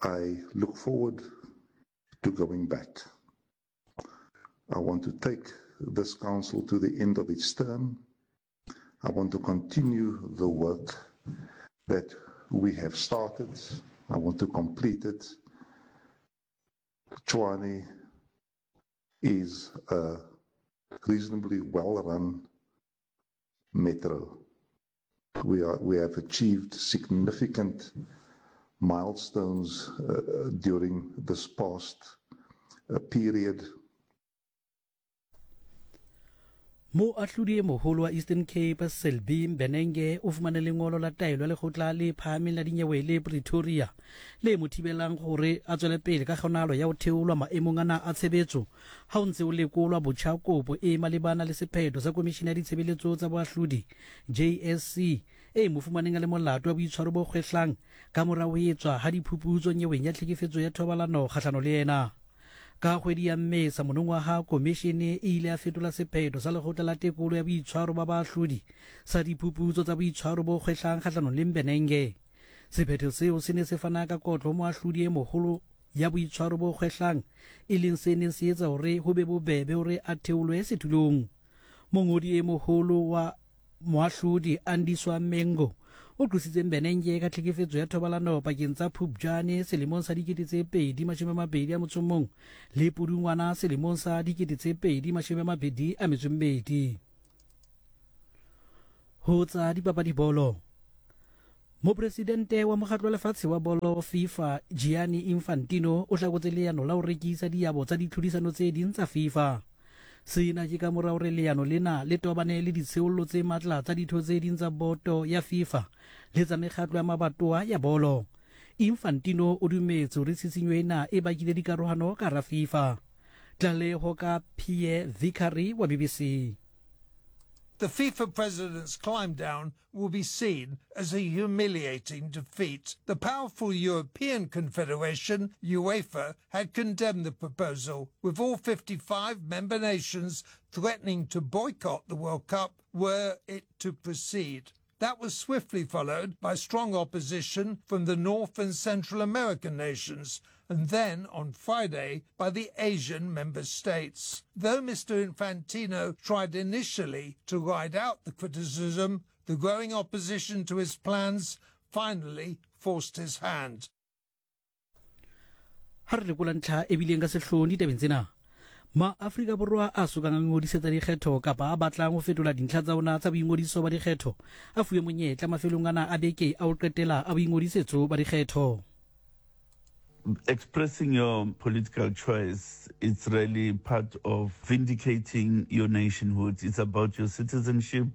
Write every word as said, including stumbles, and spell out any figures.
I look forward to going back. I want to take this council to the end of its term. I want to continue the work that we have started. I want to complete it. Tshwane is a reasonably well-run metro. We are, we have achieved significant milestones uh, during this past uh, period. Moahlodi e moholo wa Eastern Cape Selby Mbenenge o fumane lengolo la taelo ya lekgotla le phahameng la dinyewe le Pretoria le mo thibelang hore a tswele pele ka kgonahalo ya ho theolwa maemong ana a tshebetso ha o ntse o lekolwa botjha kopo e malebana le sephetho sa Komishene ya Ditshebeletso tsa Boahlodi J S C e mo fumaneng a le molato wa boitshwaro bo kgwehlang ka mora ho etswa ha diphuputso nyeweng ya tlhekefetso ya thobalano kgahlano le yena. Ka kgwedi ya Mmesa monongwaha, komishene e ile ya fetola sephetho sa lekgotla la tekolo ya boitshwaro ba baahlodi sa diphuputso tsa boitshwaro bo kgwehlang kgahlanong le Mbenenge. Sephetho seo se ne se fana ka kotlo ho moahlodi e moholo ya boitshwaro bo kgwehlang, e leng se neng se etsa hore ho be bobebe hore a theolwe setulong. Mongodi e moholo wa moahlodi Andiswa Mengo o qositse Mbenenge ka tlhekefetso ya thobalano pakeng tsa Phupjane selemong sa dikete tse pedi mashome a mabedi a motso o mong le Pudungwana selemong sa dikete tse pedi mashome a mabedi a metso e mmedi. Ho tsa dipapadi bolo. Mopresidente wa mokgatlo wa lefatshe wa bolo FIFA Gianni Infantino o hlakotse leano la ho rekisa diabo tsa ditlhodisano tse ding tsa FIFA. Sena ke ka mora hore leano lena le tobane le ditsheollo tse matla tsa ditho tse ding tsa boto ya FIFA le tsa mekgatlo ya mabatowa ya bolo. Infantino o dumetse hore tshisinyo ena e bakile dikarohano ka hara FIFA. Tlaleho ka Pierre Vicary wa B B C. The FIFA president's climb down will be seen as a humiliating defeat. The powerful European Confederation, UEFA, had condemned the proposal, with all fifty-five member nations threatening to boycott the World Cup were it to proceed. That was swiftly followed by strong opposition from the North and Central American nations, and then on Friday by the Asian member states. Though Mister Infantino tried initially to ride out the criticism, the growing opposition to his plans finally forced his hand. Ha re lekola ntlha e bileng ka sehloohong ditabeng tsena, Ma-Afrika Borwa a sokang a ingodisetsa dikgetho kapa a batlang ho fetola dintlha tsa ona tsa boingodiso ba dikgetho a fuwe monyetla mafelong ana a beke a ho qetela a boingodisetso ba dikgetho. Expressing your political choice, it's really part of vindicating your nationhood. It's about your citizenship.